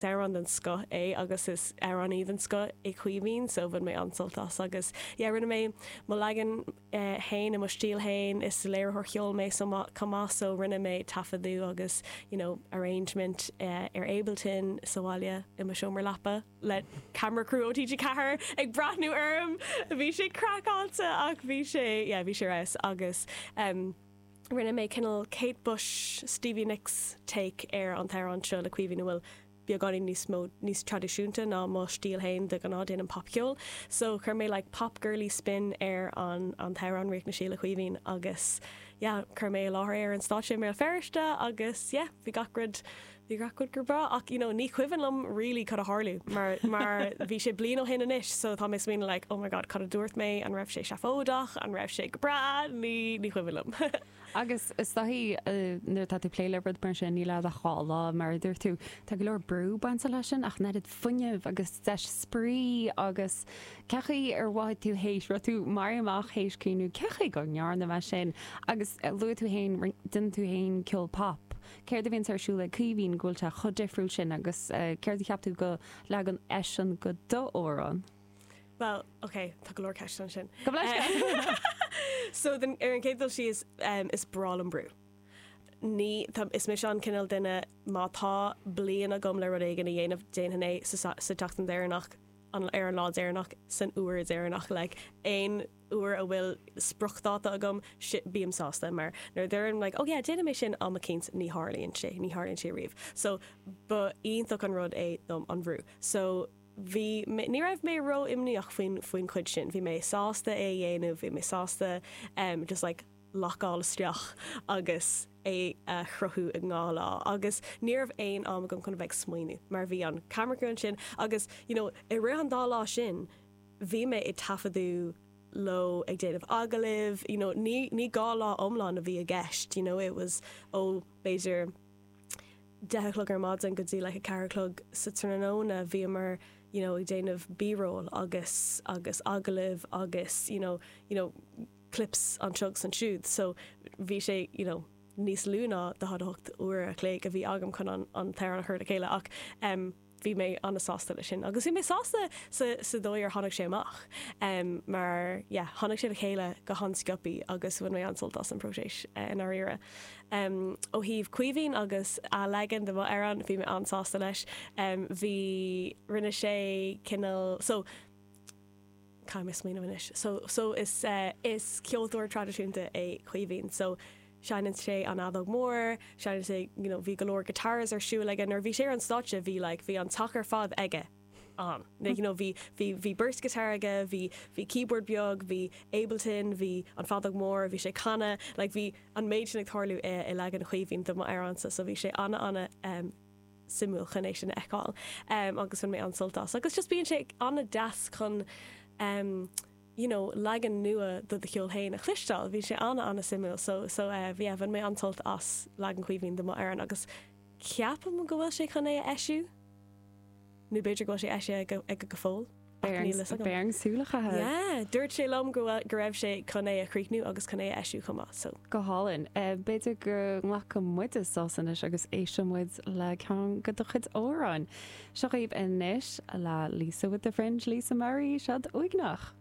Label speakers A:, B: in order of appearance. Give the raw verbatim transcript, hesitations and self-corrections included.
A: Amhrán den scoth é agus is amhránaí den scoth é Caoimhín so bhain mé an-sult as agus yeah, rinne mé mo leagan eh, féin i mo stíl féin is léiritheoir ceoil mé so chomh maith so rinne mé taifeadadh agus you know, arrangement uh, ar Ableton sa bhaile i mo seomra leapa le camera crew ó TG Ceathair ag breathnú orm bhí sé craiceáilte ach bhí sé yeah, bhí sé res agus um, rinne mé cineál Kate Bush Stevie Nicks take ar an t-amhrán seo le Caoimhín bhfuil beagáinín níos mó níos traidisiúnta ná mo stíl féin de ghnáth déanaim popcheol. So chuir mé like pop girly spin ar an an t-amhrán Ríocht na Sí le Caoimhín agus yeah, chuir mé láthair ar an stáitse i mBéal Feirste agus yeah, bhí gach rud bhí gach rud go breá ach you know, ní cuimhin liom really cad a tharla mar mar bhí sé bliain ó shin anois so tá mé smaoineamh like oh my god cad a dúirt mé an raibh sé seafóideach an raibh sé go breá ní ní cuimhin liom.
B: Agus is dóichí nuair tá tú plé le rud mar sin níl a dhá lá mar dúirt tú tá go leor brú bainte leis sin ach oiread fuinnimh agus deis spraoi agus cechaí ar mhaith tú héis ru tú mar amach héis cúnú cechaí go ndearna me sin agus luaigh tú féin déanann tú féin ceol pop. Céard a bhíonn ar siúl ag Caoimhín go bhfuil sé chomh difriúil sin agus céard a cheap tú go leagan eisean go d'amhrán.
A: Well, okay, tá go leor ceist ansin.
B: Go leis
A: So den ar an chéad dul síos um, is breá liom brú. Ní tá, is mise an cineál duine má tá bliain agam le rud éigin a dhéanamh déanfainn é sa, sa tseachtain deireanach an ar an lá deireanach san uair deireanach like, aon uair a bhfuil spriocdháta agam bím sásta mar nuair deirim like, oh yeah, déanfaidh mé sin am eicínt ní tharlaíonn sé ní tharlaíonn sé riamh. So ba iontach an rud é dom an brú. So bhí ní raibh mé ró imníoch faoin faoin chuid sin, bhí mé sásta é dhéanamh, bhí mé sásta um, just like lockáil isteach agus é a chruthú i dhá lá agus ní raibh aon am agam chun bheith smaoineamh mar bhí an camera crew sin agus you know, i rith an dá lá sin bhí mé ag taifeadadh leo ag déanamh agallaimh, you know, ní, ní dhá lá iomlán a bhí i gceist, you know, it was ó b'fhéidir deich a chlog ar maidin go dtí like a ceathair a chlog sa tráthnóna bhíomar you know, ag déanamh b-roll agus agus agallaimh agus you know, you know, clips anseo agus ansiúd, so bhí sé you know, níos lú ná daichead a hocht uair a chloig a bhí agam chun an, an t-amhrán a chur le chéile ach um, bhí mé an-sásta leis sin. Agus bhí mé sásta sa, sa dóigh ar tháinig sé amach um, mar yeah, tháinig sé le chéile go han-sciobtha agus bhain mé an-sult as an próiseas uh, i ndáiríre. Um, ó thaobh Caoimhín agus a leagan de m'amhrán bhí mé an-sásta leis. Um, bhí rinne sé cineál so Caithfidh mé smaoineamh anois. So, so is, uh, is ceoltóir traidisiúnta é Caoimhín. So seinneann sé an fheadóg mór, seinneann sé you know, bhí go leor guitars ar siúl aige nuair bhí sé ar an stáitse bhí like, bhí an teach ar fad aige an. Like, you know, bhí bhí bhí beirt guitar aige, bhí bhí keyboard beag, bhí Ableton, bhí an feadóg mór, bhí sé canadh, like, bhí an méid sin ag tarlú i, i leagan Chaoimhín de m'amhránsa, so bhí sé ana ana um, suimiúil chun é sin a fheiceáil um, agus bhain mé an-sult as. Agus just bíonn sé an-deas chun um, you know, leagan nua do do cheol féin a chloisteáil, bhí sé ana an-suimiúil, so, so uh, bhí bhain mé an-sult as leagan Chaoimhín de m'amhrán agus ceapaim go bhfuil sé chun é a eisiú nó b'fhéidir go bhfuil sé eisithe aige go fóill.
B: Beang súlacha.
A: Yeah, dúirt sé liom go go raibh sé chun é a chríochnú agus chun é a eisiú chomh maith so.
B: Go hálainn. B'fhéidir go nglacfaidh muid sos anois agus éistfidh muid le ceann de do chuid amhrán. Seo dhaoibh anois le Lisa with the Fringe Lisa Murray siad uaigneach.